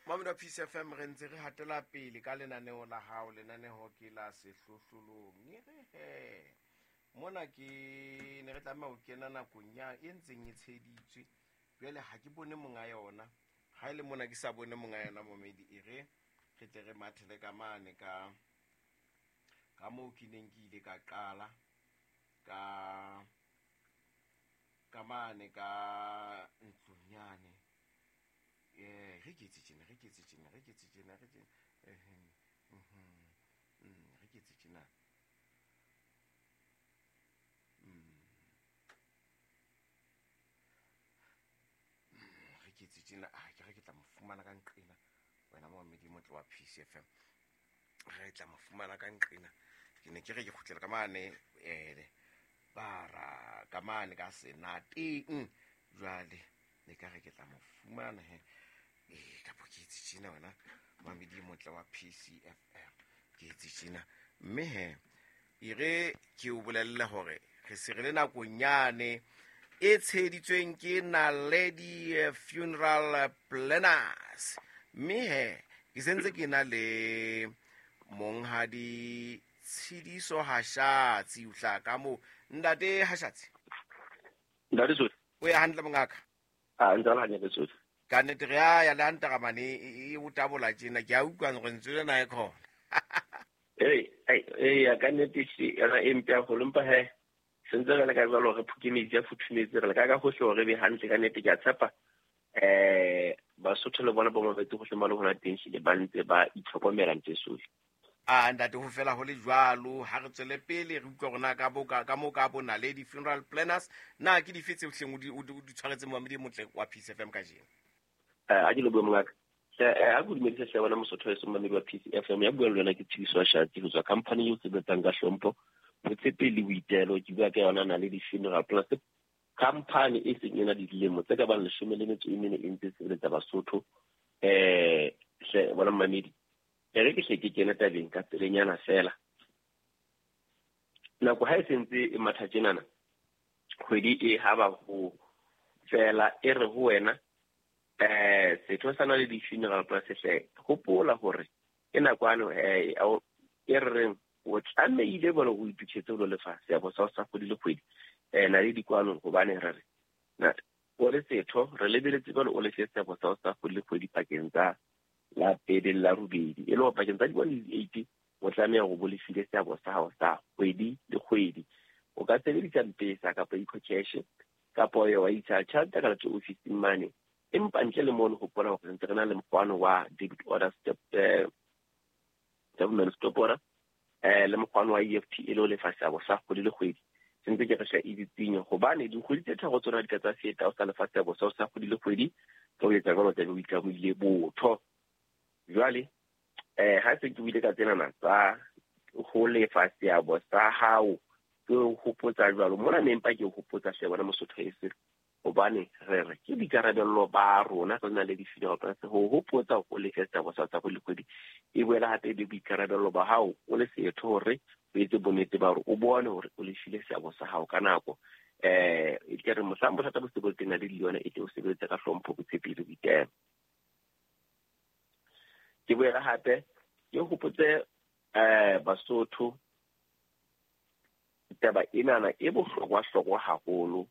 Mamedi wa Peace FM, re ntse re hatela pele ka lenaneo la hao. Lenaneo ke la Sehlohlolong. E re he mona ke ne re tlameha ho kena nakong ya e ntseng e tsheditswe. Jwale ha ke bone monga yona. Ha e le mona ke sa bone monga yona, momedi, e re re tle re mathele ka mane ka moo ke neng ke ile ka qala ka mane ka ntlong yane. Re ke etse tjena, re ke etse tjena, re ke etse tjena, re tjena, re ke etse tjena. Re ke etse tjena. Ah, ke re ke tla mo fumana ka nqena wena momedi motle wa Peace FM. Re tla mo fumana ka nqena. Ke ne ke re ke kgutlela ka mane, bara ka mane ka senateng. Jwale ne ka re ke tla mo fumana he. Kapo ke etse tjena wena mamedi motle wa PCFM, ke etse tjena. Mme he e re ke o bolelle hore re se re le nakong yane e tsheheditsweng ke Naledi Funeral Planners. Mme he ke sentse ke na le monghadi Tshidiso Hashatsi. O hlaha ka moo, ntate Hashatsi? Ntate Sotho. O ya hantle, mongaka? A ntse le hantle, Sotho. Ka nnete re a ya le hantaramane e o tabola tjena, ke a utlwa gore ntswe lena e khona. Ee, ka nnete yona e mpe haholo, empa he sentse re leka jwalo, re phuke metsi a futhumetse, re leka ka hohle hore re be hantle. Ka nnete ke a tshepa Basotho le bona ba mabetse hohle mo le hona teng, hlile ba ntse ba itlhokomela ntse sohle. A ntate, ho fela ho le jwalo, ha re tswele pele re utlwa rona ka bo ka mo ka bo Naledi Funeral Planners. Na ke dife tse hleng o di tshwaretse momedi motle wa Peace FM kajeno? A ke le bue, mongaka. A ko dumedise hle wena Mosotho e momamedi wa Peace FM. Ya buang le wena ke Tshidiso Shatsi ho tswa company eo sebetsang ka hlompho, botshepehi le boitelo. Ke bua ka yona Naledi Funeral Planners, company e seng e na le dilemo tse ka bang 14 e ntse sebeletsa Basotho. Hle bona mmamedi, e re ke hle ke kene tabeng ka pelenyana fela. Nako ha e sentse e matha tjenana, kgwedi e ha ba ho fela, e re ho wena setho sa Naledi Funeral Planners, hle hopola hore ke nakwane e re reng o tlamehile bone o itokisetse ho lo lefa seabo sa sa kgwedi le kgwedi Naledi kwano, hobane re re o le setho re lebeletse jwale o lefe seabo sa sa kgwedi le kgwedi pakeng tsa la pele le la robedi, e le hore pakeng tsa di-1 le di-8 o tlameha hore bo lefile seabo sa hao sa kgwedi le kgwedi. O ka sebedisa Mpesa kapa EcoCash, kapa wa isa tjhelete ka letso ofising mane, empa ntle le mono hopola hore ntse re na le mokgwano wa debit order step, government stop order, le mokgwano wa EFT, e le ho lefa seabo sa kgwedi le kgwedi. Sentse ke re hle e ditsinyo, hobane dikgwedi tse tharo tsona di ka tsa feta o sa lefa seabo sa sa kgwedi le kgwedi. Ka ho etsa jwalo tlabe o itlamohile botho. Jwale ha se ke buile ka tsenana tsa ho lefa seabo sa hao, ke o hopotsa jwalo mona ne, empa ke o hopotsa hle bona Mosotho ese, hobane re re ke boikarabello ba rona re na le di-funeral plans ho hopotsa o lefe seabo sa tsa kgwedi le kgwedi. E boela hape e be boikarabello ba hao o le setho hore o etse bonnete ba hore o bone hore o lefile seabo sa hao ka nako, e tle re mohlang bothata bo se bo teng le yona e tle o sebeletse ka hlompho, botshepehi le boitelo. Ke boela hape ke hopotse Basotho taba enana e bohlokwa-hlokwa haholo,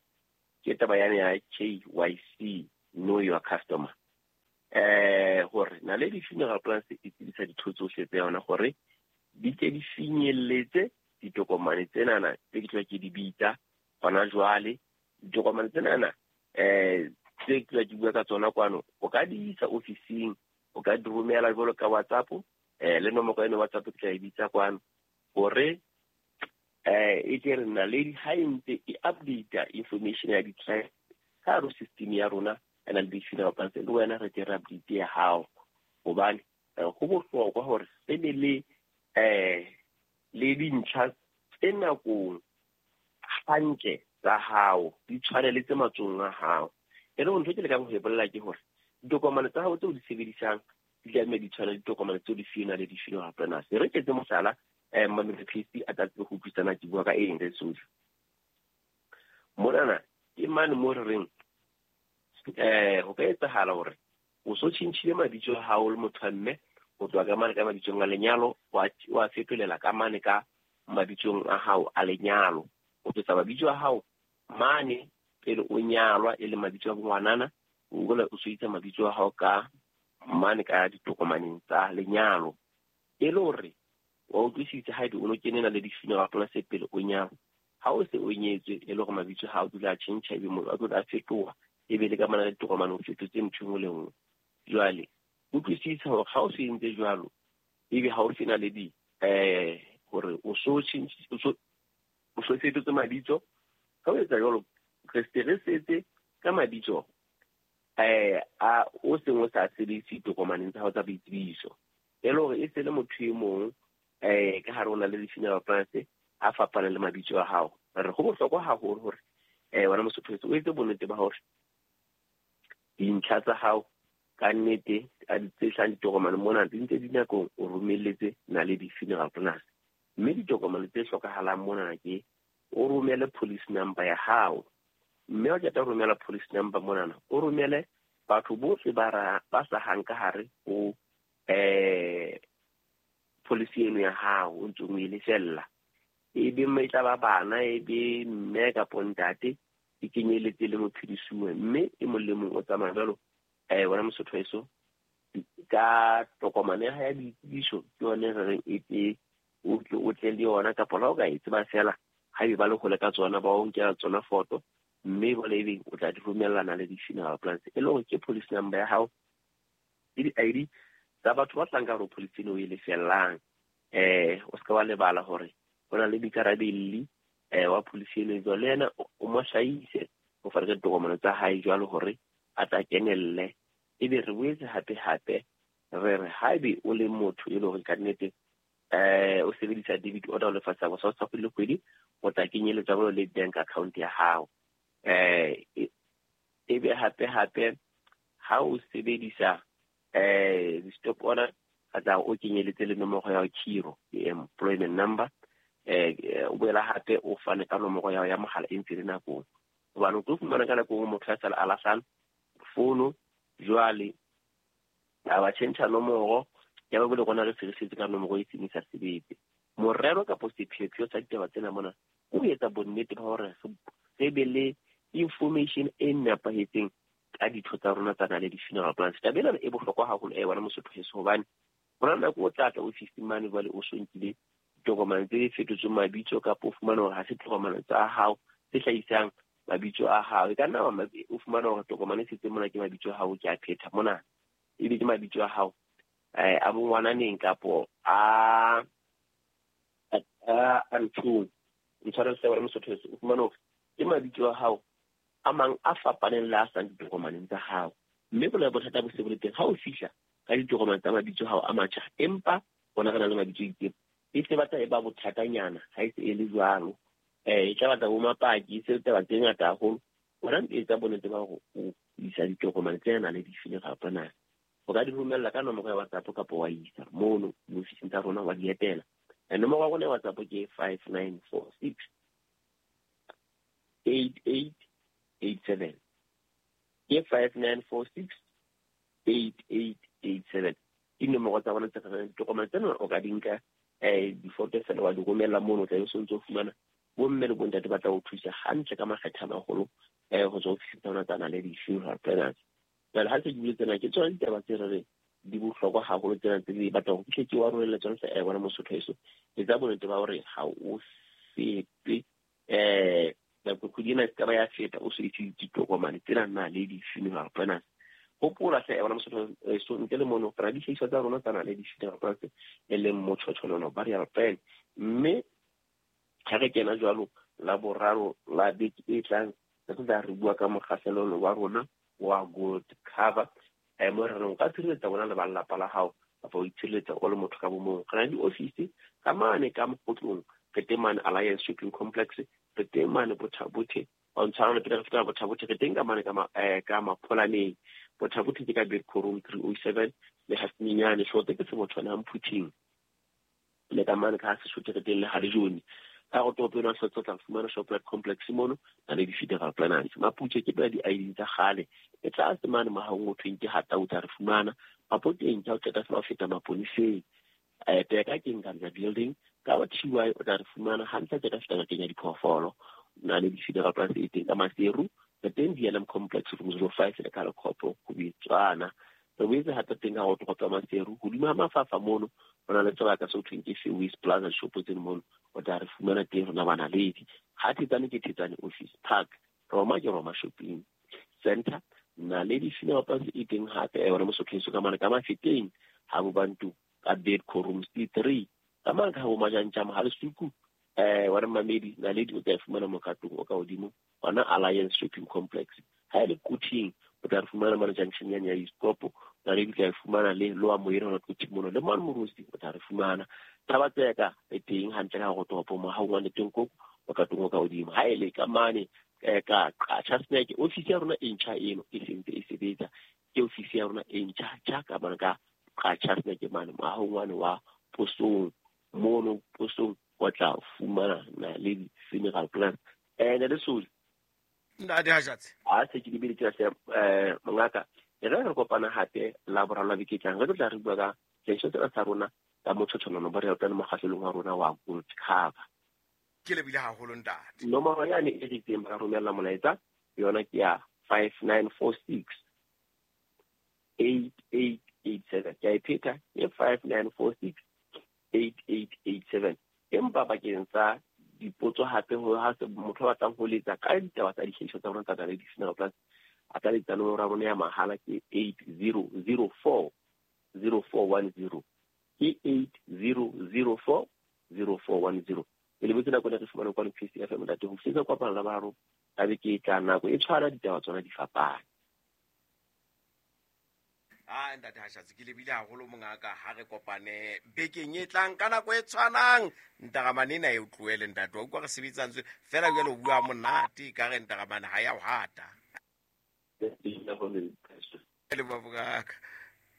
ke taba yane ya KYC, know your customer, hore Naledi Funeral Plans e tsebisa ditho tsohle tsa yona hore di ke di finyelletse ditokomane tsenana tse ke tla ke di bitsa hona jwale. Ditokomane tsenana tse ke tla ke bua ka tsona kwano, o ka di isa ofising, o ka di romela jwalo ka WhatsApp, le nomoro eno WhatsApp ke tla e bitsa kwano, hore e tle re Naledi ha e ntse e update information ya di-client ka hare ho system ya rona ya Naledi Funeral Plans, le wena re tle re update ya hao, hobane ho bohlokwa hore re be le dintlha tse nakong hantle tsa hao, di tshwane le tse matsohong a hao. E le ntho ke lekang ho e bolela ke hore ditokomane tsa hao tseo di sebedisang di tlameha di tshwane le ditokomane tseo di fuwe Naledi Funeral Planners. Re ketse mohlala, Mamedi Phesi a tla tsebe ho utlwisana ke bua ka eng. Re sohle monana ke mane mo re reng ho ka etsahala hore O so tjhentjhile mabitso a hao le motho wa mme, o tswa ka mane ka mabitsong a lenyalo, wa fetolela ka mane ka mabitsong a hao a lenyalo. O tlosa mabitso a hao mane pele o nyalwa e le mabitso a bongwanana, o boela o so itsa mabitso a hao ka mane ka ditokomaneng tsa lenyalo. E le hore wa utlwisisa haebe o no kene Naledi Funeral Plans pele o nyalwa. Ha o se o nyetswe e le hore mabitso ha o dula a tjhentjha, ebe motho a dula a fetoha, ebe le ka mane ka ditokomane o fetotse ntho e nngwe le nngwe. Jwale utlwisisa hore ha o se entse jwalo, ebe ha o se na le di hore o so o so fetotse mabitso. Ha o etsa jwalo, re se re setse ka mabitso a o seng o sa sebedise ditokomaneng tsa hao tsa boitsebiso. E le hore e se le motho e mong ka hare o na le funeral plans a fapaneng le mabitso a hao. Re ho bohlokwa haholo hore wena Mosotho o etse bonnete ba hore dintlha tsa hao ka nnete a di tse hlahang ditokomane mona di ntse di nakong o romelletse Naledi Funeral Plans. Mme ditokomane tse hlokahalang mona ke o romele police number ya hao. Mme o qeta ho romela police number monana, o romele batho bohle ba hlahang ka hare ho policy eno ya hao o ntse o e lefella. E be e tla ba bana, e be mme kapo ntate, e kenyeletse le mophedisuwe. Mme e mong le mong o tsamaya jwalo wena Mosotho heso ka tokomane ya ya boitsebiso, ke yone re reng e te o tle le yona, kapa la o ka e tseba fela haebe ba le hole ka tsona, ba o nkela tsona foto, mme jwale ebe o tla di romella Naledi Funeral Plans. E le hore ke policy number ya hao le di-ID tsa batho ba tlang ka hare ho policy eno o e lefellang. O se ka wa lebala hore ho na le boikarabelli wa policy eno, jwale le yena o mo hlahise o fane ka ditokomane tsa hae jwalo hore a tla kenelle. Ebe re boetse hape re re haebe o le motho e le hore ka nnete o sebedisa debit order o lefa sa sa kgwedi le kgwedi, o tla kenyeletsa jwalo le bank account ya hao. Ebe hape ha o sebedisa di-stop order, a tla o kenyeletse le nomoro ya khiro, employment number. O boela hape o fane ka nomoro ya ya mohala e ntse le nakong, hobane o tlo fumana ka nako e nngwe motho a sala a lahlang fono, jwale a ba tjhentjha nomoro ya ba bole rona re se re setse ka nomoro e seng e sa sebetse. Morero kapo sepheopheo sa ditaba tsena mona o etsa bonnete ba hore re be le information e nepahetseng ka ditho tsa rona tsa Naledi Funeral Plans. Taba ena e bohlokwa haholo wena Mosotho heso, hobane hona nako o tla tla ofising mane jwale o so nkile ditokomane tse fetotsweng mabitso, kapa o fumane hore ha se tokomane tsa hao tse hlahisang mabitso a hao. E ka nna o fumana hore tokomane e setse mona ke mabitso a hao, ke a phetha mona, ebe ke mabitso a hao a bongwananeng kapo a nthong. Ntshwarele hle wena Mosotho heso, o fumane hore ke mabitso a hao a mang a fapaneng le a sang ditokomaneng tsa hao. Mme bolela bothata bo se bo le teng ha o fihla ka ditokomane tsa mabitso a hao a matjha, empa rona re na le mabitso a itseng, e se batla e ba bothatanyana ha e se e le jwalo. E tla batla bo mapaki, e se taba tse ngata haholo. Wena etsa bonnete ba hore o isa ditokomane tse Naledi Funeral Plans. O ka di romella ka nomoro ya WhatsApp kapa wa isa mono diofising tsa rona wa di etela. Nomoro ya rona ya WhatsApp ke 5946 8887. Ke 5946 8887. Ke nomoro tsa rona tse re ditokomane tsena o ka di nka difoto fela wa di romella mono, o tla be o sontso o fumana bomme le bontate ba tla o thusa hantle ka makgetha a maholo ho tswa ofising tsa rona tsa Naledi Funeral Plans. Jwale ha se ke bule tsena, ke tsona ditaba tse re reng di bohlokwa haholo tsena tse di batlang ho fihle ke wa romelle tsona hle wena Mosotho heso. Etsa bonnete ba hore ha o fete nako kgwedi ena e se ka ba ya feta o so ise ditokomane tsena Naledi Funeral Plans. Hopola hle wena Mosotho heso, ntle le mono re na dihlahiswa tsa rona tsa Naledi Funeral Plans e leng motjhotjholono burial plan. Mme ha re kena jwalo la boraro la beke e tlang, re tla re bua ka mokgahlelo wa rona wa gold cover. Mo re reng o ka tshireletsa bona le ba lelapa la hao, kapa o itshireletsa o le motho ka bo mong. Re na le diofisi ka mane ka Mokgotlong, re teng mane Alliance Shopping Complex, re teng mane Botha-Bothe, o ntshwarele pele re feta Botha-Bothe, re teng ka mane ka Mapholaneng. Botha-Bothe ke ka Bedco Room 307 le Hasminyane, Hlote ke Sebothwana Mphuthing, le ka mane ka Sesotho re teng le Harejoni. Ka go toropo eno ya Hlotse o tla fumana Shoprite Complex mono, Naledi Funeral Planners. Maputshe ke pela di-ID tsa kgale. E tlase mane mohaong o thweng ke Hata o tla re fumana. Mapoteng ke ha o qeta fela ho feta maponeseng. Peka ke Nkandla building. Ka wa TY o tla re fumana hantle qeta feta ngakeng ya diphoofolo. Naledi Funeral Planners e teng ka Maseru. Re teng DLM Complex room 05 le ka Lekgopo ho bitswana. Re boetse hape teng ka go toropo ya Maseru. Hodimo ha mafafa mono ho na le sebaka se ho thweng ke Fairways Plaza shopo tseno mono. O tla re fumana teng rona ba Naledi. Ha Thetsane ke Thetsane Office Park. Roma ke Roma Shopping Center. Naledi Funeral Planners e teng hape yona Mosotho ka mane ka Mafeteng ha bo Bantu ka Bedco room C3. Ka mane ka bo Majantjama ha Lesuku wena Mamedi Naledi o tla e fumana mokatong o ka hodimo hona Alliance Shopping Complex. Ha e le Quthing o tla re fumana mane junction yane ya Iskopo. Naledi o tla e fumana le Loa Moyena hona Quthing mono le mane Morosi o tla re fumana. Thabatseka e teng hantle ka go toropo mo ha o ngwane teng koko mokatong o ka hodimo. Ha e le ka mane ka Qacha Snack office ya rona e ntjha eno e sentse e sebetsa. Ke office ya rona e ntjha tjha ka mane ka Qacha Snack mane mohahong wane wa posong mono posong o tla fumana Naledi Funeral Plans. Ne le Soli. Ntate Hajatse. Ha se ke lebile tjena mongaka e re re kopana hape la boraro la beke e tlang re tlo tla re bua ka sehloho sena sa rona ka motshotsholono bo re utlwa le mokgahlelong wa rona wa Gold Cover. Ke lebile haholo ntate. Nomoro yane e re itseng ba ka romella molaetsa yona ke ya 5946 8887. Ke a e pheta ke 5946 8887. Empa bakeng sa dipotso hape ho ha motho a batlang ho letsa ka ditaba tsa dihlahiswa tsa rona tsa Naledi Funeral Plans a ka letsa nomoro ya rona ya mahala ke 8004 0410. Ke 8004 0410. E lebetse nako ena re fumane kwano PCFM ntate ho fihla kopana la boraro ka beke e tlang nako e tshwana ditaba tsona di fapane. Ah ntate Hashatse ke lebile haholo mongaka ha re kopane bekeng e tlang ka nako e tshwanang. Ntaramane ena e o tlohele ntate wa utlwa re sebetsang tswe fela jwale o bua monate ka re ntaramane ha ya o hata. Le babaka.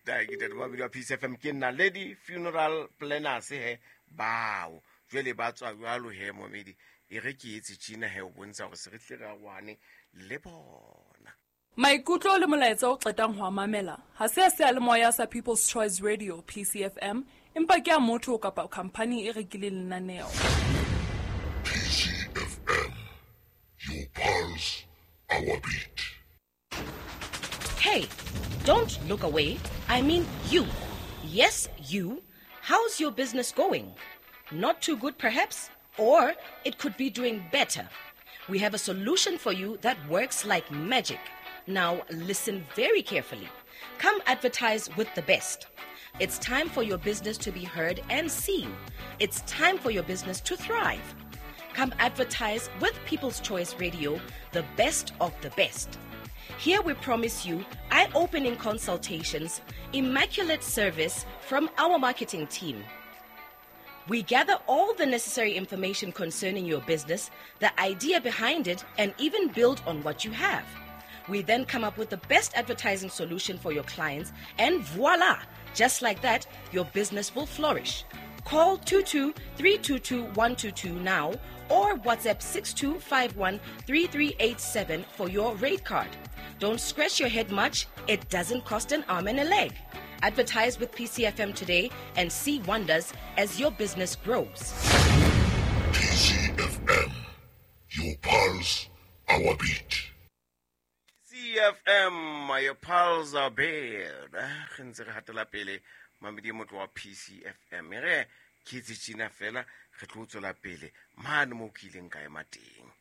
Ntate wa wa PCFM ke Naledi Funeral Planners he bao jwale ba tswa jwalo he momedi e re ke etse tjena he o bontsha hore se re tle re arohane le bona. Maikutlo le molaetsa o qetang ho a mamela ha se a seyalemoya sa People's Choice Radio PCFM empa ke a motho kapa khampani e rekileng lenaneo. PCFM, your pulse, our beat. Hey, don't look away. I mean you. Yes, you. How's your business going? Not too good, perhaps? Or it could be doing better. We have a solution for you that works like magic. Now, listen very carefully. Come advertise with the best. It's time for your business to be heard and seen. It's time for your business to thrive. Come advertise with People's Choice Radio, the best of the best. Here we promise you eye-opening consultations, immaculate service from our marketing team. We gather all the necessary information concerning your business, the idea behind it, and even build on what you have. We then come up with the best advertising solution for your clients, and voila! Just like that, your business will flourish. Call 22-322-122 now or WhatsApp 6251-3387 for your rate card. Don't scratch your head much. It doesn't cost an arm and a leg. Advertise with PCFM today and see wonders as your business grows. PCFM, your pulse, our beat. CFM, your pulse, our beat. Re ntse re hatela pele mamedi motho wa PCFM. Re ke itse tjena fela re tlo tswela pele mane mo ke ileng ka ema teng.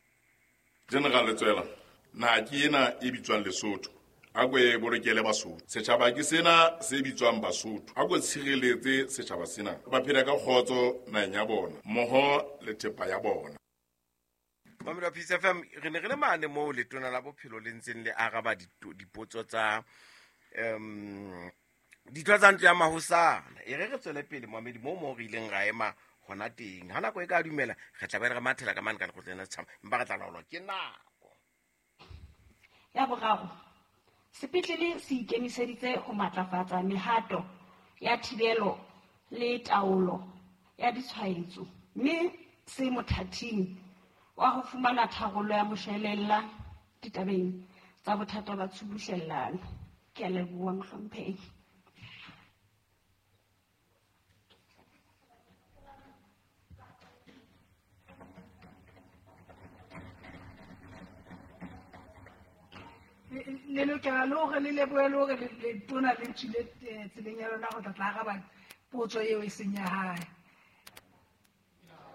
General Letsoela, naha ke ena e bitswang Lesotho. A ko e bolokele Basotho. Setjhaba ke sena se bitswang Basotho. A ko tshireletse setjhaba sena. Ba phela ka kgotso naheng ya bona, mmoho le thepa ya bona. Mamedi wa PCFM, re ne re le mane moo letona la bophelo le ntseng le araba dipotso tsa ditho tsa ntlo ya mahosana. E re re tswele pele mamedi moo re ileng ra ema hona teng. Ha nako e ka dumela re tla be re mathela ka mane ka lekgotleng la setjhaba, empa re tla laolwa ke nako. Ya boraro, sepetlele se ikemiseditse ho matlafatsa mehato ya thibelo le taolo ya ditshwaetso mme se mothating wa ho fumana tharollo ya moshwelella ditabeng tsa bothata ba tshubuhlellano. Ke a leboha mohlomphehi. Le lokela le hore le lebohe le hore letona le tswile tseleng ya lona ho tla tla araba potso eo e seng ya hae.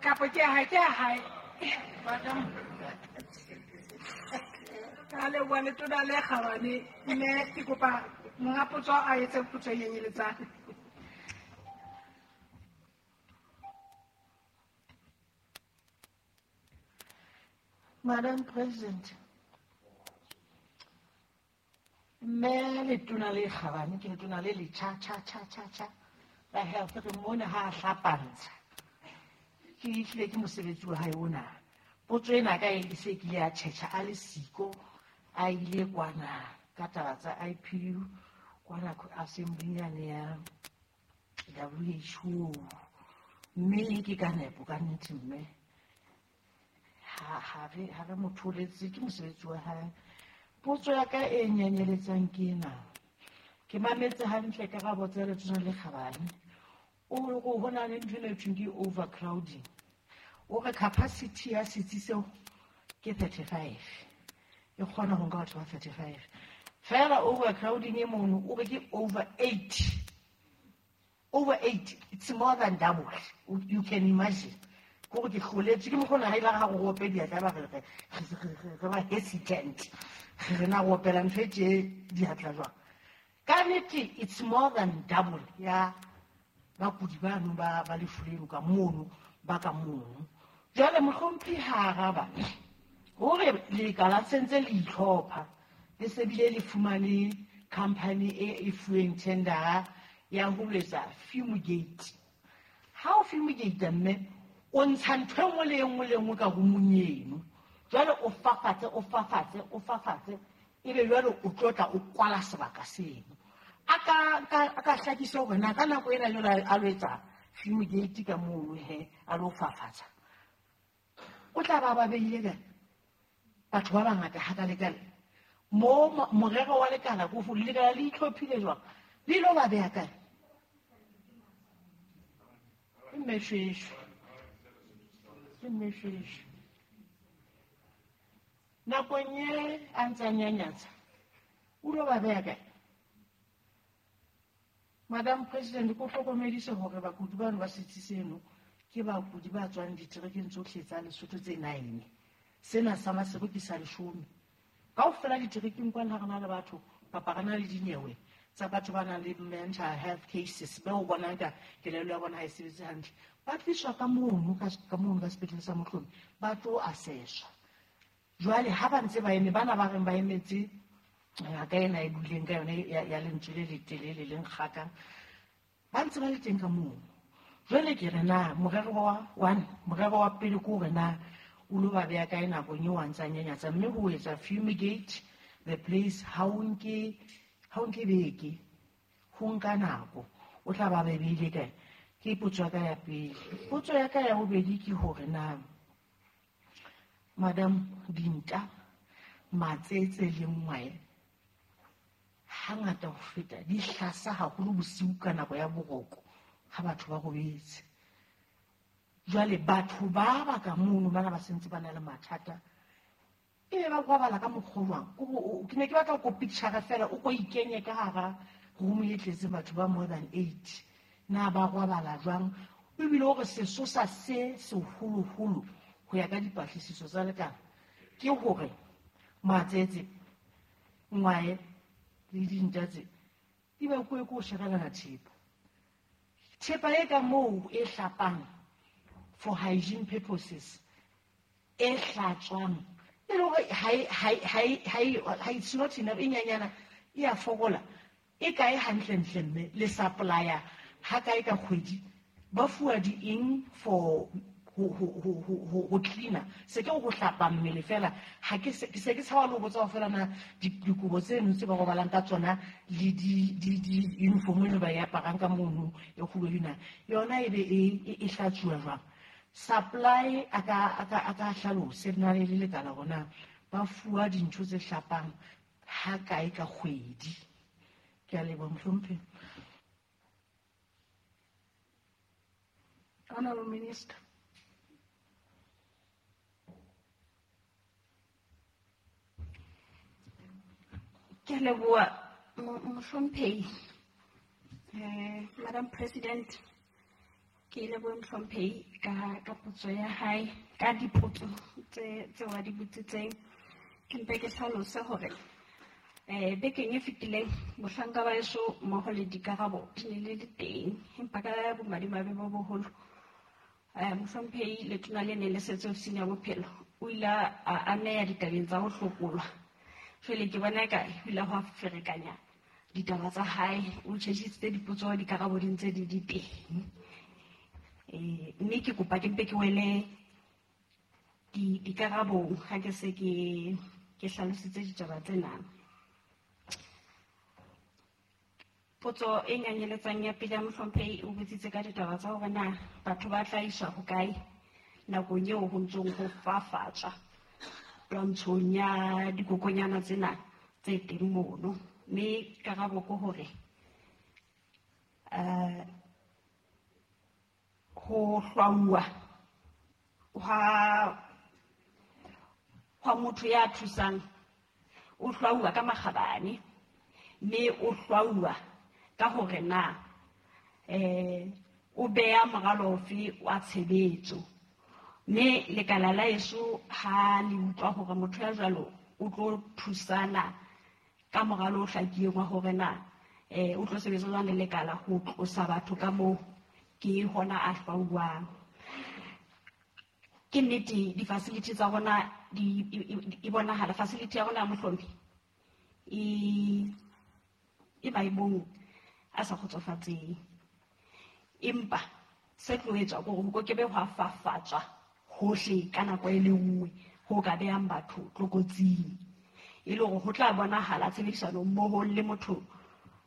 Kapa ke ya hae, ke ya hae. Madam. Ka leboha letona le kgabane, mme ke kopa monga potso a etse potso e nyenyeletsang. Madam President, mme letona le kgabane ke letona le le cha cha cha cha cha la health re mona ha a hlapantsha. Ke ehlile ke mosebetsi wa hae ona. Potso ena ka e se kile ya tjhetjha a le siko a ile kwana ka taba tsa IPU kwana assembly yane ya WHO. Mme ke ka nepo ka nnete mme ha re mo tholetse ke mosebetsi wa hae. Potso ya ka e nyenyeletsang ke ena. Ke mametse hantle karabo tsa letona le kgabane. O re ho na le ntho e thweng ke overcrowding. O re capacity ya setsi seo ke 35. E kgona ho nka batho ba 35. Fela overcrowding e mono o re ke over 8. Over 8, it's more than double. You can imagine. Ko ke hloletse ke mokgona ha ile ga go ope diatla ba re re ba hesitant. Re na go opela ntho e tje diatla jwang. Ka nnete it's more than double ya bakudi bano ba lefu leno ka mono ba ka mono. Jwale mohlomphehi ha araba hore lekala sentse le itlhopha le se bile le fumane company e fuweng tendera ya ho letsa fumigate. Ha o fumigate mme o ntsha ntho e nngwe le e nngwe le nngwe ka roomong eno. Jwale o fafatse o fafatse o fafatse ebe jwale o tlotla o kwala sebaka seno. A ka hlakisa hore na ka nako ena jwale a lo etsa fumigate ka mono he a lo fafatsa. O tla ba beile kae batho ba bangata hakalekale mo morero wa lekala ko fo lekala le itlhophile jwang le ilo ba beha kae? Mme shweshwe. Mme shweshwe. Nakong e a ntse a nyanyatsa o lo ba beha kae? Madam President, ko hlokomedise hore bakudi bano ba setsi seno ke bakudi ba tswang diterekeng tsohle tsa Lesotho tse 9. Sena sa Maseru ke sa 10. Kaofela diterekeng kwana ha re na le batho kapa re na le dinyewe tsa batho ba nang le mental health cases ba o bonang ka kelello ya bona ha e sebetse hantle. Ba tliswa ka mono ka sepetlele sa Mohlomi ba tlo assesswa. Jwale ha ba ntse ba eme bana ba reng ba emetse ngaka ena e buileng ka yone ya lentswe le letelele le nkgakang ba ntse ba le teng ka mono. Jwale ke re na morero wa one morero wa pele ke hore na o lo ba beha kae nakong eo a ntsa nyanyatsa, mme ho etsa fumigate the place ha o nke beke ho nka nako o tla ba beile kae? Ke potso ya ka ya pele. Potso ya ka ya bobedi ke hore na Madam dinta matsetse le ngwae hangata ho feta di hlasa haholo bosiu ka nako ya boroko ha batho ba robetse. Jwale batho ba ka mono bana ba sentse ba na le mathata ebe ba kwabala ka mokgwa jwang? Ke ne ke batla ko picture fela o ko ikenye ka hara room e tletse batho ba more than 8. Na ba kwabala jwang? Ebile hore sesosa se seholoholo ho ya ka dipatlisiso tsa lekala ke hore matsetse ngwae le dinta tse di bakuwe ke ho sherelana thepa. Thepa e ka moo e hlapang for hygiene purposes e hlatswang e le hore ha it's not enough e nyanyana e a fokola e kae hantlentle mme le supplier ha kae ka kgwedi ba fuwa di eng for ho cleaner se ke go hlapa mmele fela ha ke se ke tshaba le ho botsa fela na dikobo tseno tse ba robalang ka tsona le di uniform eno ba e aparang ka mono e kgubedu na yona e be e hlatsuwa jwang. Supply a ka hlalose na le lekala hore na ba fuwa dintho tse hlapang ha kae ka kgwedi. Ke a leboha mohlomphehi. Honorable Minister. Ke a leboha mohlomphehi. Madam President, ke leboha mohlomphehi ka potso ya hae, ka dipotso tse wa di botsitseng. Ke mpe ke hlalose hore bekeng e fetileng mohlanka ba heso mmoho le dikarabo di ne le le teng, empa ka bomadimabe bo boholo mohlomphehi letona le ne le setse ofising ya bophelo o ile a ameha ditabeng tsa ho hlokolwa. Jwale ke bona eka o ile hwa ferekanya ditaba tsa hae, o tjhetjhisitse dipotso dikarabo di ntse di di teng. Mme ke kopa ke mpe ke wele dikarabong ha ke se ke hlalositse ditaba tsena. Potso e nyanyeletsang ya pele ya mohlomphehi o botsitse ka ditaba tsa hore na batho ba tla iswa hokae nakong eo ho ntsong ho fafatswa twantshong ya dikokonyana tsena tse teng mono. Mme karabo ke hore ho hlwauwa hwa motho ya thusang, o hlwauwa ka makgabane, mme o hlwauwa ka hore na o beha moralo ofe wa tshebetso. Mme lekala la heso ha le utlwa hore motho ya jwalo o tlo thusana ka moralo o hlakileng wa hore na o tlo sebetsa jwang le lekala ho tlosa batho ka moo, ke hona a hlwauwang. Ke nnete di-facility tsa rona di e bonahala facility ya rona ya Mohlomi e maemong a sa kgotsofatseng, empa se tlo etswa ke hore ho ke be hwa fafatswa hohle ka nako e le nngwe ho ka behang batho tlokotsing, e le hore ho tla bonahala tshebedisano mmoho le motho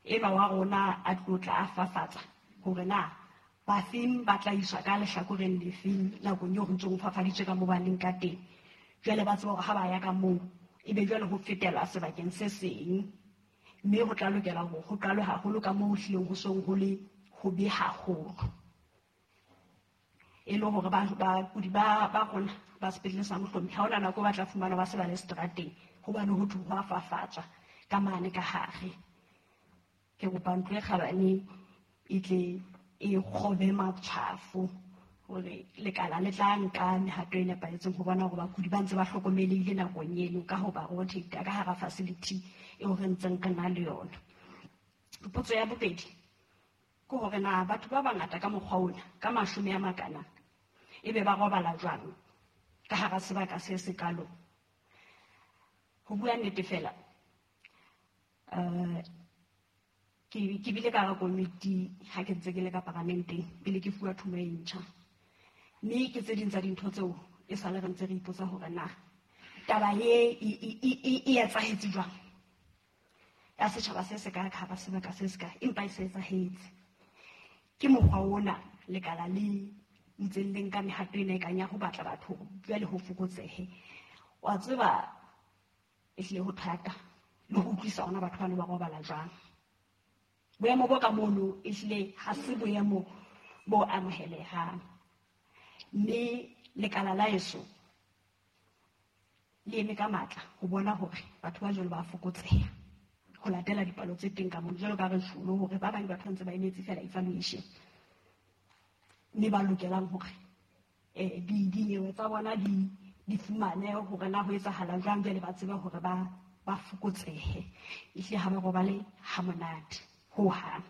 enwa wa rona a tlo tla a fafatsa hore na bafeng ba tla iswa ka lehlakoreng lefeng nakong eo ho ntsong ho fafaditswe ka moo ba leng ka teng. Jwale ba tseba hore ha ba ya ka moo ebe jwale ho fetela sebakeng se seng, mme ho tla lokela hore ho qalwe haholo ka moo ho hlileng ho seng ho le hobe haholo, e le hore bakudi ba rona ba sepetlele sa Mohlomi ha hona nako ba tla fumana ba se ba le seterateng, hobane ho thwe ho a fafatswa ka mane ka hare. Ke kopa ntlo e kgabane e tle e kgobe matshwafo hore lekala le tla nka mehato e nepahetseng ho bona hore bakudi ba ntse ba hlokomelehile nakong eno ka ho ba rotate ka hara facility eo re ntseng re na le yona. Potso ya bobedi ke hore na batho ba bangata ka mokgwa ona ka 10 a makana ebe ba robala jwang ka hara sebaka se sekalo. Ho bua nnete fela, ke bile ka hara komiti ha ke ntse ke le ka paramenteng pele ke fuwa thumo e ntjha, mme ke tse ding tsa dintho tseo e sale re ntse re ipotsa hore na taba e etsahetse jwang ya setjhaba se se ka hara sebaka se se ka, empa e se etsahetse. Ke mokgwa ona lekala le ntseng le nka mehato ena e kang ya ho batla batho jwale ho fokotsehe. Wa tseba ehlile ho thata le ho utlwisa ona batho bano ba robala jwang. Boemo bo ka mono ehlile ha se boemo bo amohelehang, mme lekala la heso le eme ka matla ho bona hore batho ba jwalo ba fokotseha ho latela dipalo tse teng ka mono. Jwalo ka re tjhulo hore ba bang batho ba ntse ba emetse fela evaluation, mme ba lokelang hore dinyewe tsa bona di fumane hore na ho etsahala jwang, jwale ba tsebe hore ba fokotsehe. Ehlile ha ba robale ha monate ho hang,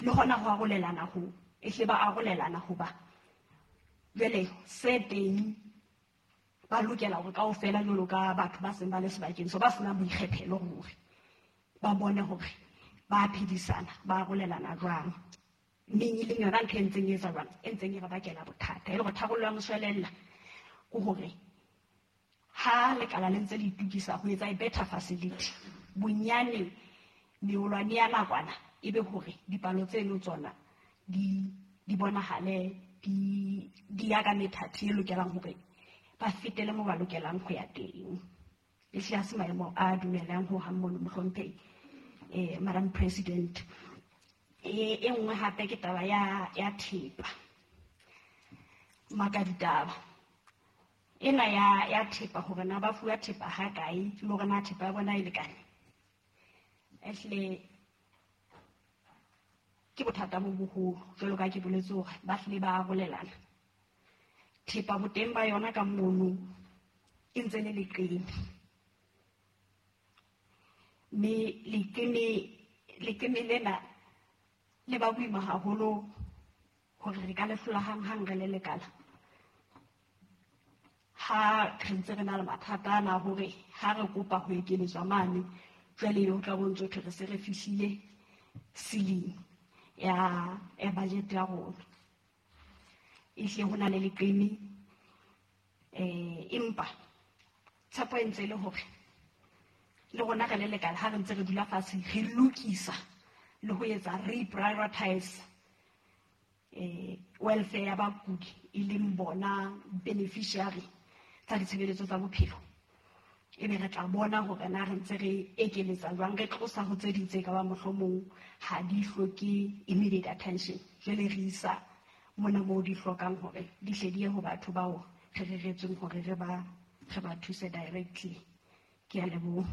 le hona ho arolelana ho ehlile ba arolelana hoba jwale se teng ba lokela hore kaofela jwalo ka batho ba seng ba le sebakeng so ba senang boikgethelo hore ba bone hore ba phedisana ba arolelana jwang. Mme e leng yona ntho e ntseng e etsa jwang, e ntseng e re bakela bothata, e le hore tharollo ya moshwelella ke hore ha lekala le ntse le itokisa ho etsa e better facility, bonyane meolwane ya nakwana ebe hore dipalo tseno tsona di bonahale di ya ka methati e lokelang hore ba fetele mo ba lokelang ho ya teng. Ehlile ha se maemo a dumelang ho hang mono mohlomphehi, Madam President. E nngwe hape ke taba ya thepa. Maka ditaba ena ya thepa hore na ba fuwa thepa ha kae le hore na thepa ya bona e lekane. Ehlile ke bothata bo boholo jwalo ka ke boletse hore ba hlile ba arolelana. Thepa boteng ba yona ka mono e ntse le leqeme. Mme leqeme lena le ba boima haholo hore re ka le hlola hang-hang re le lekala. Ha re ntse re na le mathata ana hore ha re kopa ho ekeletswa mane, jwale ho tla bo ntso thwe re se re fihlile ceiling ya budget ya rona. Ehlile ho na le leqeme, empa tshepo e ntse e le hore le rona re le lekala ha re ntse re dula fatshe re lokisa le ho etsa reprioritize welfare ya bakudi e leng bona beneficiary tsa ditshebeletso tsa bophelo. Ebe re tla bona hore na re ntse re ekeletsa jwang, re tlosa ho tse ding tse ka ba mohlomong ha di hloke immediate attention, jwale re isa mona moo di hlokang hore di hle di ye ho batho bao re reretsweng hore re ba thuse directly. Ke a leboha.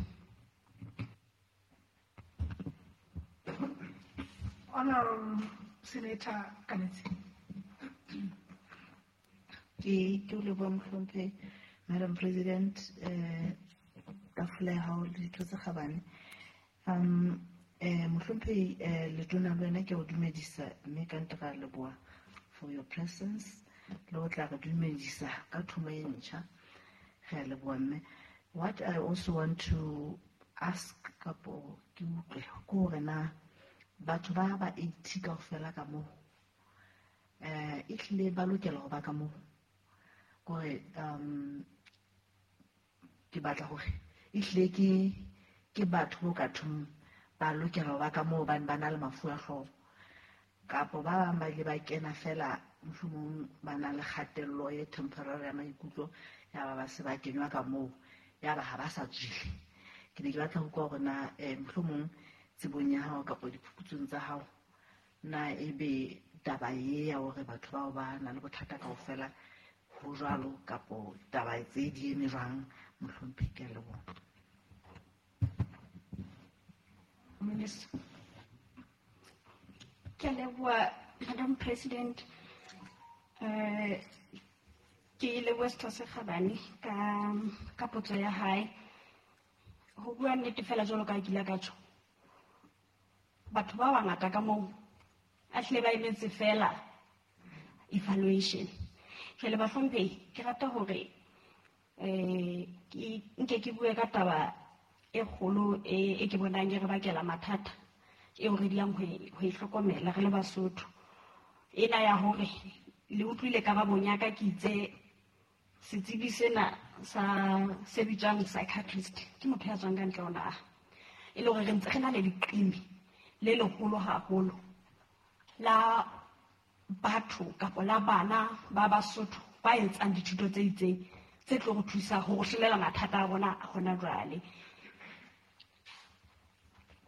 Honorable Senator Kanetsi. Ke o leboha mohlomphehi, Madam President, tafole ya hao le ditho tse kgabane. Mohlomphehi, letona le wena ke o dumedisa mme ka ntle ra leboha for your presence le ho tla re dumedisa ka thomo e ntjha. Re a leboha mme. What I also want to ask kapo ke utlwe ke hore na batho ba 80 kaofela ka moo ehlile ba lokela ho ba ka moo, kore ke batla hore ehlile ke batho bo ka thong ba lokela ho ba ka moo hobane ba na le mafu a hlooho, kapo ba bang ba ile ba kena fela mohlomong ba na le kgatello e temporary ya maikutlo ya ba se ba kenywa ka moo ya ba ha ba sa tswile. Ke ne ke batla ho utlwa hore na mohlomong tsebong ya hao kapa diphuputsong tsa hao na ebe taba e ya hore batho bao ba na le bothata kaofela ho jwalo kapo taba tse di eme jwang mohlomphehi, ke a leboha. Minister. Ke a leboha Madam President. Ke leboha setho se kgabane ka potso ya hae. Ho bua nnete fela jwalo ka ke ile ka tjho, batho ba bangata ka moo a hlile ba emetse fela evaluation. Jwale bahlomphehi, ke rata hore nke ke bue ka taba e kgolo e ke bonang e re bakela mathata eo re dulang ho e hlokomela re le Basotho. Ena ya hore le utlwile karabong ya ka ke itse setsebi sena sa se bitswang psychiatrist ke motho ya tswang ka ntle ho naha, e le hore re ntse re na le leqeme le leholo haholo la batho kapa la bana ba Basotho ba etsang dithuto tse itseng tse tlo re thusa ho hlolela mathata a bona hona jwale.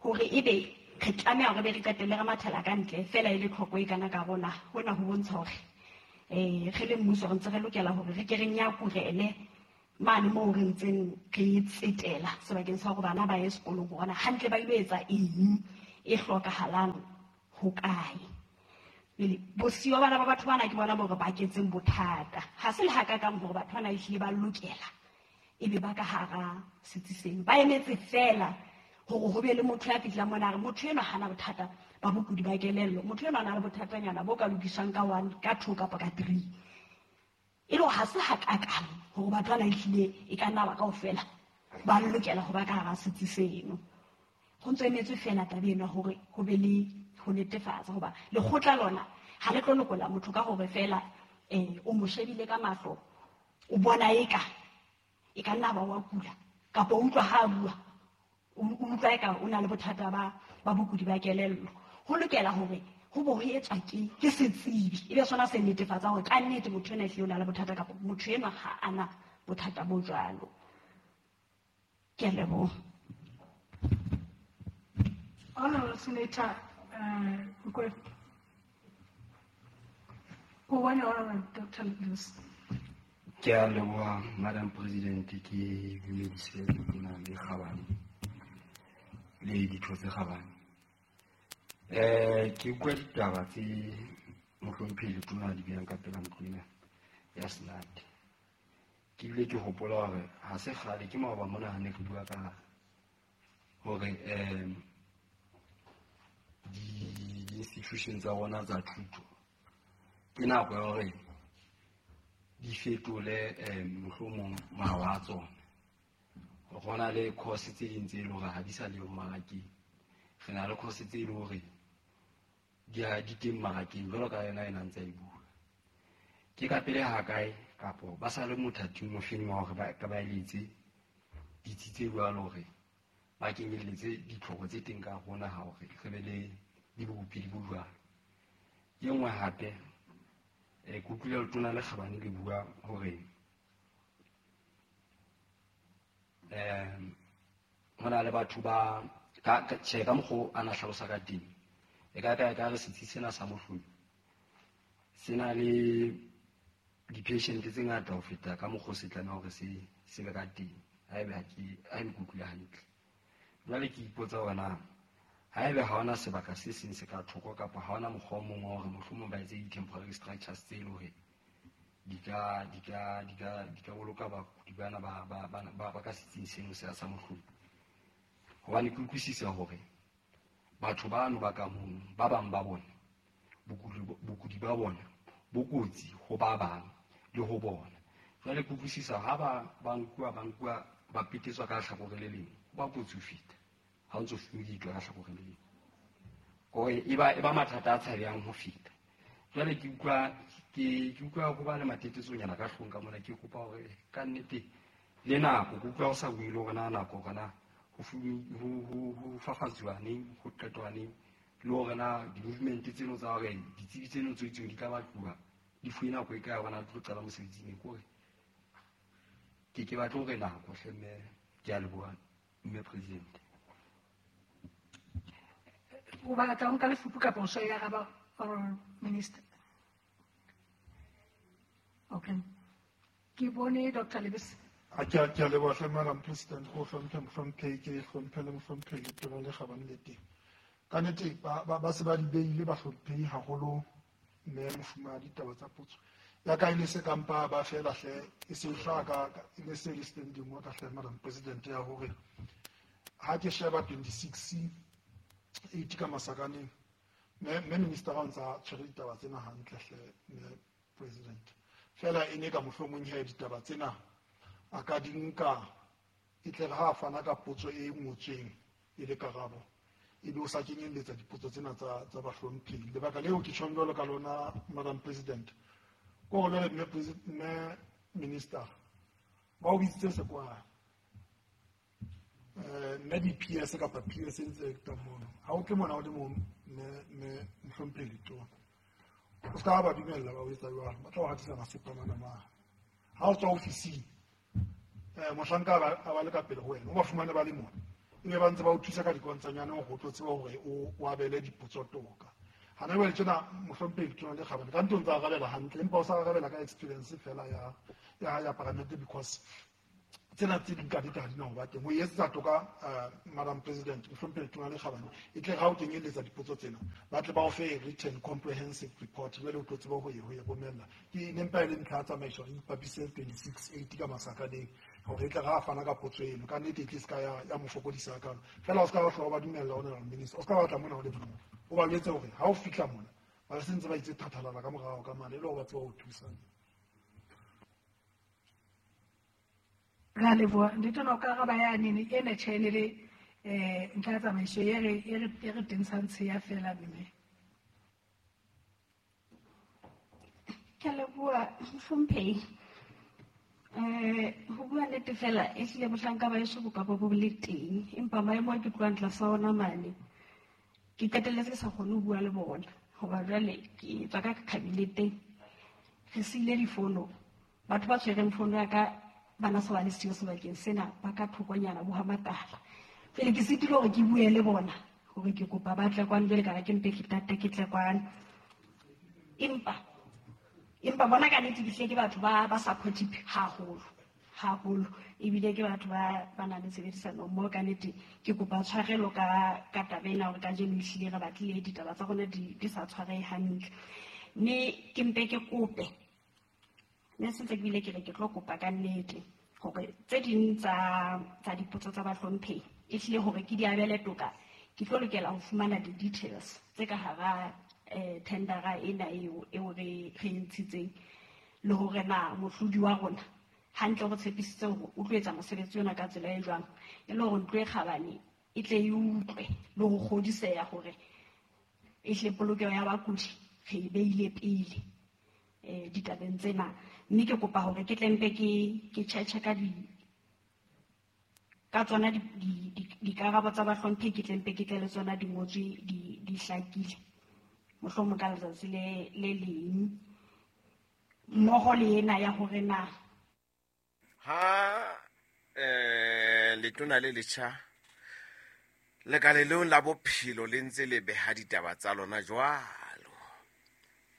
Hore ebe re tlameha hore be re qetelle re mathela ka ntle fela e le tlhoko e kana ka rona, hona ho bontsha hore re le mmuso re ntse re lokela hore re ke re nyakurele mane moo re ntseng re tsetela sebakeng sa hore bana ba ye sekolong hore na hantle ba ilo etsa eng e hlokahalang ho kae. Pele bosiyo bana ba batho bana ke bona bo re baketseng bothata. Ha se le hakakang hore batho bana ehlile ba lokela ebe ba ka hara setsi seno, ba emetse fela hore ho be le motho ya fihlang mona a re motho enwa hana bothata ba bokudi ba kelello, motho enwa a na le bothatanyana bo ka lokiswang ka 1, ka 2 kapa ka 3. E le hore ha se hakakang hore batho bana ehlile e ka nna ba kaofela ba lokela ho ba ka hara setsi seno. Ho ntso emetswe fela taba ena hore ho be le ho netefatsa hoba lekgotla lona ha le tlo lokolla motho ka hore fela o mo shebile ka mahlo, o bona eka e ka nna ba wa kula kapa o utlwa ha a bua, o utlwa eka o na le bothata ba bokudi ba kelello. Ho lokela hore Ho bo ho etswa ke setsebi, ebe sona se netefatsa hore ka nnete motho ena ehlile o na le bothata kapa motho enwa ha ana bothata bo jwalo. Ke a leboha. Honorable Senator Nkwe. Go bone Honorable Dr. Lewis. Ke a leboha Madam President, ke dumedise letona le kgabane le ditho tse kgabane. Ke utlwa ditaba tse mohlomphehi letona di behang ka pela ntlo ena ya Senate. Ke bile ke hopola hore ha se kgale ke maoba mona ha ne re bua ka hore di-institution tsa rona tsa thuto ke nako ya hore di fetole mohlomong mawa a tsona. Ho na le course tse ding tse leng hore ha di sa le mmarakeng. Re na le course tse leng hore di teng mmarakeng jwalo ka yona ena ntse a e bua. Ke ka pele ha kae kapo ba sa le mothating o feng wa hore ba ka ba eletse ditsi tse jwalo hore ba kenyelletse ditlhoko tse teng ka rona ha hore re be le dibopedi bo jwalo. E nngwe hape ke utlwile letona le kgabane le bua hore ho na le batho ba tjhe ka mokgwa a na hlalosa ka teng e ka re setsi sena sa Mohlomi se na le di-patient tse ngata ho feta ka mokgwa se tlameha hore se be ka teng. Haebe ha ke utlwile hantle. Jwale ke ipotsa hore na haebe ha hona sebaka se seng se ka thoko kapa ha hona mokgwa o mong wa hore mohlomong ba etse di-temporary structures tse leng hore di ka boloka bakudi bana ba ka setsing seno sa Mohlomi. Hobane ke utlwisisa hore batho bano ba ka mono ba bang ba bona bokudi ba bona bo kotsi ho ba bang le ho bona. Jwale ke utlwisisa ha ba nkuwa ba petetswa ka hlakore le leng, ho ba kotsi ho feta ha o ntso fumeditwa ka hlakore le leng. Kore e ba mathata a tshabehang ho feta. Jwale ke utlwa ho ba le matetetsonyana ka hlong ka mona, ke kopa hore ka nnete le nako ke utlwa ho sa bue le hore na nako hore na ho fafatsuwa neng, ho qetwa neng, le hore na di-movement tseno tsa hore ditsebi tseno tse itseng di tla batluwa di fuwe nako e kae hore na di tlo qala mosebetsing neng. Kore ke batle hore nako hle mme, ke a leboha mme President. O batla ho nka lefupu kapa o so e araba, Honorable Minister? Okay. Ke bone Dr. Lebese. A ke a leboha hle Madam President, go hlomphe mohlomphehi, ke hlomphe le mohlomphehi letona le kgabane le teng. Ka nnete ba se ba di beile bahlomphehi haholo mme mofumahadi ditaba tsa potso. Ya ka e ne se kampa ba fela hle e se hlaka e ne se le standing wa ka hle Madam President ya hore ha ke sheba 26 8 ka masakaneng mme minister ha ntsa tshwere ditaba tsena hantle hle mme President. Fela e ne ka mohlomong he ditaba tsena a ka di nka e tle ha fana ka potso e ngotsweng e le karabo ebe o sa kenyelletsa dipotso tsena tsa bahlomphehi. Lebaka leo ke tjhong jwalo ka lona Madam President ko hore jwale mme minister ba o bitsitse sekwala mme di-PS kapa PS e ntse ka mono ha o tle mona o le mong mme mohlomphehi letona o ska ba dumella ba o etsa jwalo, ba tla o hatisa masepa mana mane. Ha o tswa ofising mohlanka a ba le ka pele ho wena o ba fumane ba le mona ebe ba ntse ba o thusa ka dikontsanyane hore o tlo tseba hore o abele dipotso toka. Hana jwale tjena mohlomphehi letona le kgabane ka ntho ntse arabela hantle empa o sa arabela ka experience fela ya parliament because tsena tse ding ka nnete ha di na ho ba teng. Ho etsetsa toka Madam President mohlomphehi letona le kgabane e tle ha o kenyelletsa dipotso tsena ba tle ba o fe written comprehensive report jwale o tlo tseba ho e romella. Ke ne mpa e le ntlha ya tsamaiso re ipapise 26 8 ka masakaneng hore e tle ha fana ka potso eno ka nnete e tle se ka ya mo fokodisa hakalo. Fela o ska ba hloka ba dumella hona minister o ska ba tla mona ho le mong o ba jwetse hore ha o fihla mona ba se ntse ba itse thathalala ka morao ka mane e le hore ba tseba ho thusa. Ra leboha letona o ka araba yane ena tjhe ne le ntlha ya tsamaiso e re tentshang tsheya fela mme. Ke a leboha mohlomphehi. Ho bua nnete fela ehlile bohlanka ba heso bo ka bo le teng empa maemo a ke tlohang tlasa ona mane ke qetelletse ke sa kgone ho bua le bona. Hoba jwale ke tswa ka cabinet-eng, re siile difono. Batho ba tshwereng fono ya ka ba na se ba le siyo sebakeng sena, ba ka thokonyana bo ha matala. Pele ke sitile hore ke bue le bona hore ke kopa ba tle kwano, jwale ka re ke mpe ke tate ke tle kwano. Empa bona ka nnete ke hlile ke batho ba supportive haholo haholo, ebile ke batho ba nang le tshebedisano mmoho. Ka nnete ke kopa tshwarelo ka taba ena hore kajeno ehlile re batlile ditaba tsa rona di sa tshwarehe hantle. Mme ke mpe ke kope, mme se ntse ke bile ke re ke tlo kopa ka nnete hore tse ding tsa dipotso tsa bahlomphehi ehlile hore ke di abele toka, ke tlo lokela ho fumana di-details tse ka hara tendera ena eo re e ntshitseng, le hore na mohlodi wa rona hantle re tshepisitse hore o tlo etsa mosebetsi ona ka tsela e jwang, e le hore ntlo e kgabane e tle e utlwe le ho kgodiseha hore ehle polokeho ya bakudi re e beile pele ditabeng tsena. Mme ke kopa hore ke tle mpe ke tjhetjhe ka di ka tsona dikarabo tsa bahlomphehi, ke tle mpe ke tle le tsona di ngotswe di hlakile, mohlomong ka letsatsi le leng, mmoho le ena ya hore na ha letona le letjha lekaleng la bophelo le ntse le beha ditaba tsa lona jwalo.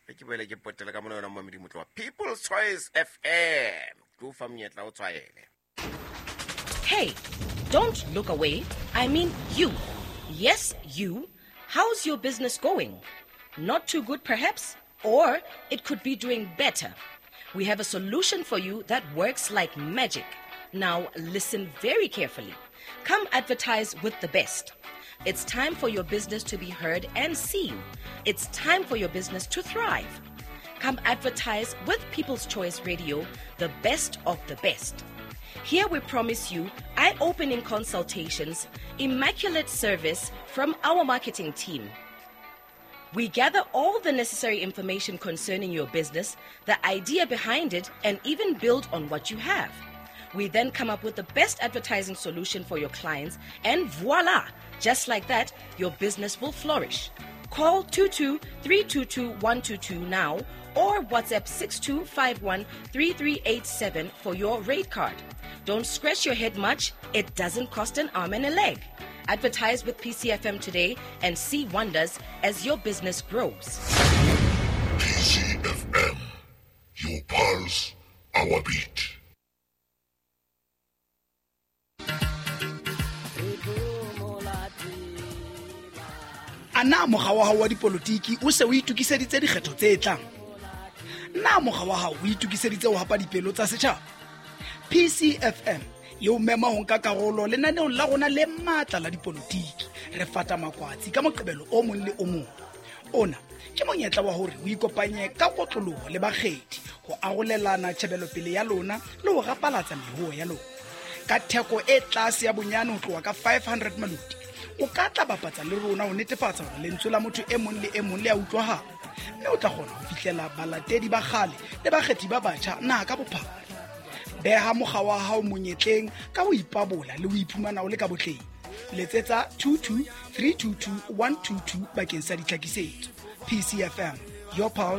Re ke boele ke potele ka mona yona momedi motlo wa People's Choice FM. Ke o fa monyetla o tshwaele. Hey, don't look away. I mean you. Yes, you. How's your business going? Not too good, perhaps? Or it could be doing better. We have a solution for you that works like magic. Now, listen very carefully. Come advertise with the best. It's time for your business to be heard and seen. It's time for your business to thrive. Come advertise with People's Choice Radio, the best of the best. Here we promise you eye-opening consultations, immaculate service from our marketing team. We gather all the necessary information concerning your business, the idea behind it, and even build on what you have. We then come up with the best advertising solution for your clients, and voila! Just like that, your business will flourish. Call 22-322-122 now or WhatsApp 6251-3387 for your rate card. Don't scratch your head much. It doesn't cost an arm and a leg. Advertise with PCFM today and see wonders as your business grows. PCFM, your pulse, our beat. A na mokga wa hao wa dipolotiki o se o itokiseditse dikgetho tse tlang? Na mokga wa hao o itokiseditse ho hapa dipelo tsa setjhaba? PCFM e o mema ho nka karolo lenaneong la rona le matla la dipolotiki. Re fata makwatsi ka Moqebelo o mong le o mong. Ona ke monyetla wa hore o ikopanye ka kotloloho le bakgethi ho arolelana tjhebelopele ya lona le ho rapalatsa mehoho ya lona. Ka theko e tlase ya bonyane ho tloha ka 500 maloti, o ka tla bapatsa le rona ho netefatsa hore lentswe la motho e mong le e mong le a utlwahala, mme o tla kgona ho fihlela balatedi ba kgale le bakgethi ba batjha naha ka bophara. Beha mokga wa hao monyetleng ka ho ipabola le ho iphumana o le ka botleng. Letsetsa 22 322 122 bakeng sa ditlhakisetso. PCFM, your pulse,